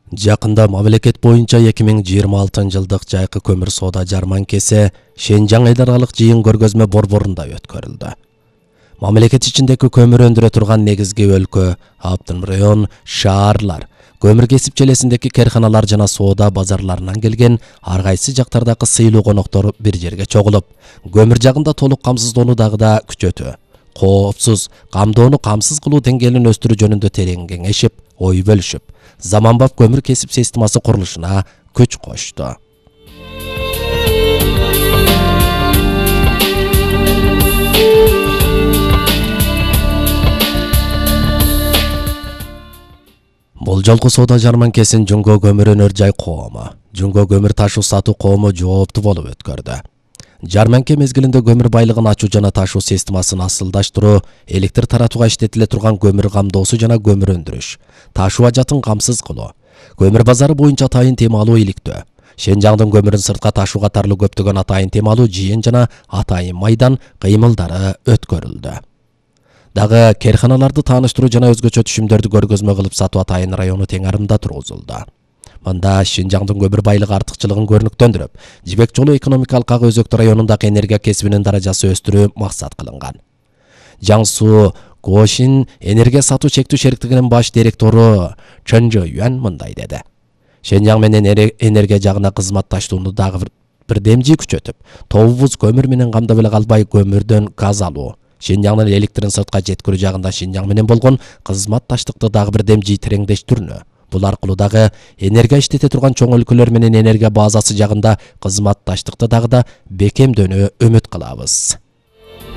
Жакында мамлекет боюнча 2026-жылдык жайкы көмүр соода жарманкеси Шенжаң эл аралык жыйын көргөзмө борборунда өткөрүлдү. Мамлекет ичиндеги көмүр өндүрө турган негизги өлкө, автономдуу шаарлар, көмүр кесип челесиндеги карханалар жана соода базарларынан келген ар кайсы жактардагы сыйлуу коноктор бир жерге чогулуп, көмүр жагында толук камсыздоону дагы да күчөтүү, коопсуз, камдоону камсыз кылуу деңгээлин өстүрүү жөнүндө терең кеңешип, ой бөлүшүп, заманбап көмүр кесип системасы курулушуна күч кошту. Бул жолку соода жарманкесин Жумго көмүр өнөр жай коому, Жумго көмүр ташуу сатуу коому жооптуу болуп өткөрдү. Жарманке мезгилинде көмүр байлыгын ачуу жана ташуу системасын асылдаштыруу, электр таратууга иштетиле турган көмүр камдоосу жана көмүр өндүрүш, ташуу ажатын камсыз кылуу, көмүр базары боюнча атайын темалуу иликтөө, Шенжаңдын көмүрүн сыртка ташуу катарлуу көптөгөн атайын темалуу жыйын жана атайын майдан кыймылдары өткөрүлдү. Дагы карханаларды тааныштыруу жана өзгөчө түшүмдөрдү көргөзмө кылып сатуу атайын району теңарымда тургузулду. Мында Шенжаңдын көмүр байлыгы артыкчылыгын көрүнүктөндүрүп, Жибек жолу экономикалык ак өзөктүү районундагы энергия кесибинин даражасын өстүрүү максат кылынган. Жаңсу Гошин энергия сатуу чектүү шериктигинин баш директору Чен Жоюан мындай деди. Шенжаң менен энергия жагына кызматташтууну дагы бир демжи күчөтүп, тобубуз көмүр менен камдап эле калбай көмүрдөн газ алуу, Шенжаңдын электрин сыртка жеткирүү жагында Шенжаң менен болгон кызматташтыкты дагы бир демжи тереңдештирүүнү, бул аркылуу дагы энергия иштете турган чоң өлкөлөр менен энергия базасы жагында кызматташтыкты дагы да бекемдөөнү үмүт кылабыз.